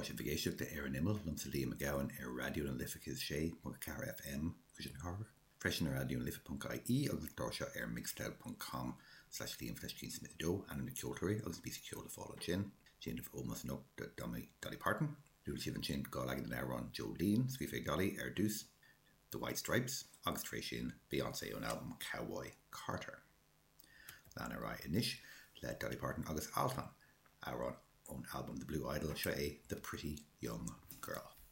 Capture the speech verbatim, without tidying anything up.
sibh ag éisteacht le Ar an Imeall liomsa Liam Mac Gabhann ar Raidió na Life céad sé ponc ceathair FM Cuisine Cathrach, freisin ar Raidió na Life ponc IE agus an clár seo ar mixcloud ponc com slash Liam slash Jean Smith a dó, ainm na ceoltóirí agus píosa ceoil le fáil ansin. Déanamh ómós anocht do Dolly Dolly Parton. Luaigh sibh ansin dhá leagan den amhrán Jolene, scríofa ag Dolly ar dtús, The White Stripes agus tar éis sin Beyoncé ón albam Cowboy Carter. Lean ar aghaidh anois le Dolly Parton agus Altan, amhrán ón albam The Blue Idol seo é The Pretty Young Girl.